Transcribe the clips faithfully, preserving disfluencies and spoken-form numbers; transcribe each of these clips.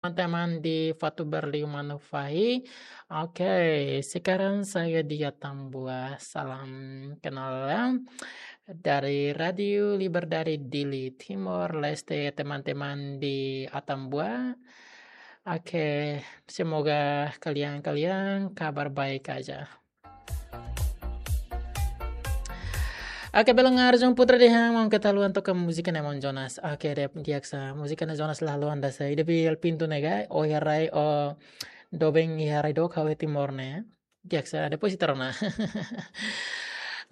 teman-teman di Fatuberliu Manufahi. Oke, sekarang saya di Atambua. Salam kenal, ya. Dari Radio Liberdade Dili, Timor Leste, teman-teman di Atambua. Oke, semoga kalian-kalian kabar baik aja. Oke, belun Arjun Putra dehan, maun keta haluha toka múzika ne'e maun Jonas. Oke, di'ak, di'ak sa. Múzika ne'e Jonas la haluha dasa. Ida Bial Pintu ne'e ka, o iha rai, o doben iha rai dook ha'u iha Timor ne'e. Di'ak sa, depois ita rona.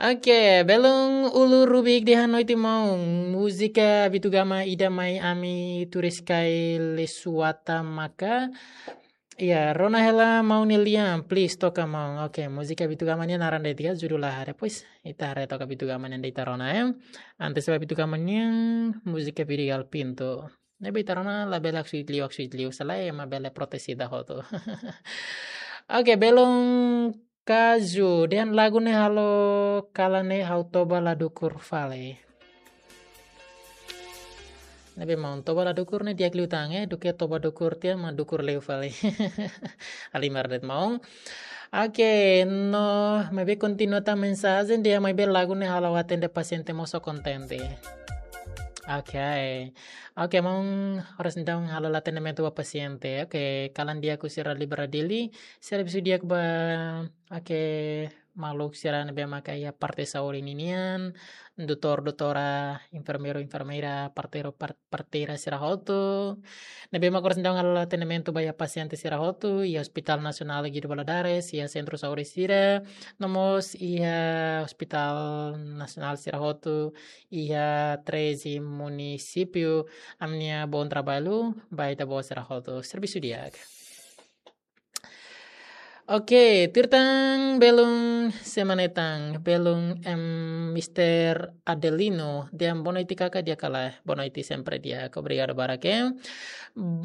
Oke, belun Ulu Rubik dehan noite maun. Múzika Bitugama ida mai ami turis kai Lesuata maka. Iya, rona hela maun nia lian, please toka maun. Oke, múzika Bitugama nian naran de'it ka, judul laha. Depois ita haree toka Bitugama nian ita rona, ya. Antes ba Bitugama nian, múzika Bial Pintu. Ne'ebé ita rona labele haksoit liu, haksoit liu. Se lae ema bele protes ita hotu. Oke, belun Kaju, dehan lagu ne'e halo kalan ne'e ha'u toba la dukur fali. Ne'ebé maun, toba la dukur ne'e di'ak liután, eh, duké toba dukur tiha mak dukur liu fali. Halimar de'it maun. Oke, no, maibé kontinua tan mensajen dehan maibé lagu ne'e halo atende pasiente mosu kontente. Oke. Oke, maun, oras ne'e daudaun halo atendimentu ba pasiente. Oke, kalan di'ak husi Rádiu Liberdade Dili, servisu di'ak ba, oke, maluk sira ne'ebé maka iha parte saúde ninian, doutór, doutora, enfermeiru, enfermeira, parteiru, par-, parteira sira hotu. Ne'ebé maka oras ne'e daudaun halo atendimentu ba iha pasiente sira hotu, iha Hospital Nasionál Guido Valadares, iha sentru saúde sira, no mós iha Hospital Nasionál sira hotu, iha treze munisípiu, ami-nia bom trabalho ba ita-boot sira hotu. Servisu di'ak. Oke, tuir tan belun sé mak ne'e tan, belun, em, Mister Adelino, dehan boa noite kaka, di'ak ka lae, boa noite sempre di'ak, obrigadu barak, eh.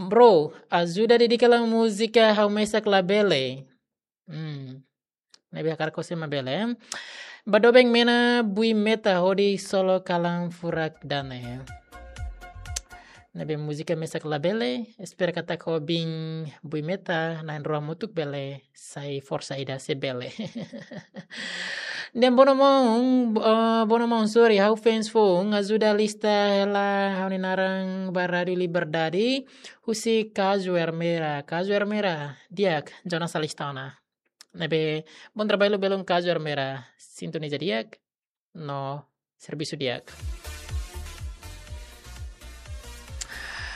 Bro, ajuda dedika hela múzika Ha'u Mesak Labele. Hmm. Ne'ebé hakarak ho sé mak bele. Ba doben Mena Bui Meta hodi solo kalan furak dane. Ne'ebé múzika mesak labele, espera katak ho biin Bui Meta na'in-rua hamutuk bele sai forsa ida se bele. Dehan boa noite maun, eh, boa noite maun, sorry, ha'u fans foun, ajuda alista hela ha'u-nia naran ba Rádiu Liberdade, husi Kaju Ermera, Kaju Ermera, di'ak, Jonas alista ona. Ne'ebé, bom trabalho belun Kaju Ermera, sintoniza di'ak, no servisu di'ak.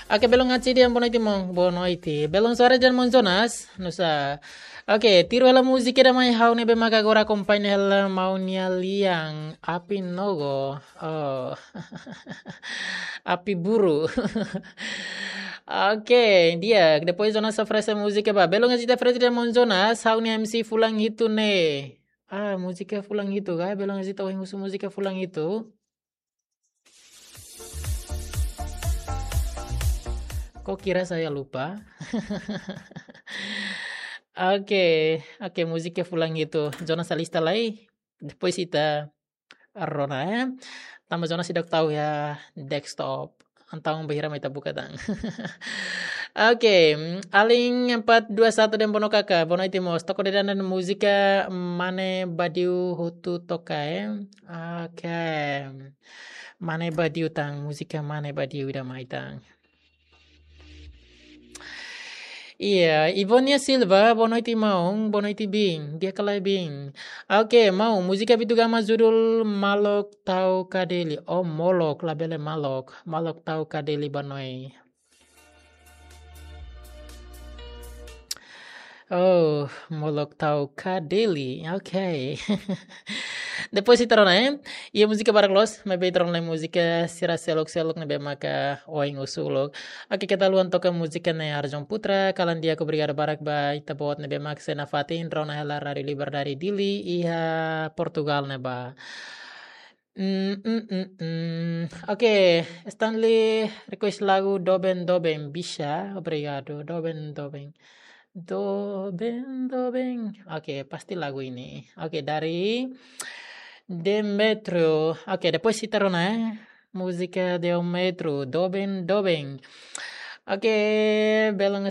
Oke, belun Aci dehan boa noite maun, boa noite. Belun Suara dehan maun Jonas, nusá. Oke, tuir hela múzika ida mai ha'u ne'ebé maka agora akompaña hela maun nia lian, Api Nogo. Oh. Api Buru. Oke, di'ak, depois Jonas oferese múzika ba. Belun Aci dehan oferese dehan maun Jonas, ha'u-nia M C fulan hitu ne'e. Ah, múzika fulan hitu ka, belun Aci ohin husu múzika fulan hitu. Kok kira saya lupa? Oke, oke, múzika fulan hitu. Jonas alista lai. Depois ita rona, eh. Tanba Jonas seidauk tau iha desktop. Entaun bainhira mai ita buka tan. Oke, mm, Alin empat dua satu dehan boa noite kaka, boa noite mós. To'o de'it ona múzika Mane Badiu hotu toka, eh. Oke. Mane Badiu tan, múzika Mane Badiu ida mai tan. Iya, Ivonia Silva, boa noite maun, boa noite biin, di'ak ka lae biin. Oke, maun, múzika Bitugama judul Malok Tau Kadeli. Oh, Molok, labele Malok, Malok Tau Kadeli ba noi. Oh, Molok Tau Kadeli. Oke. Depois ita rona, eh. Iha múzika barak loos, maibé ita rona múzika sira seluk-seluk ne'ebé maka oin husu uluk. Oke, keta haluha toka múzika ne'e Arjun Putra, kalan di'ak, obrigadu barak ba ita-boot ne'ebé maka sei nafatin rona hela Rádiu Liberdade Dili iha Portugal ne'ebá. Mm, mm, mm, mm. Oke, Stanley request lagu Doben Doben, bisa? Obrigadu, Doben Doben. Doben Doben. Oke, pasti lagu ini. Oke, dari Demetrio. Oke, depois ita rona, eh. Múzika Demetrio, Doben Doben. Oke, belun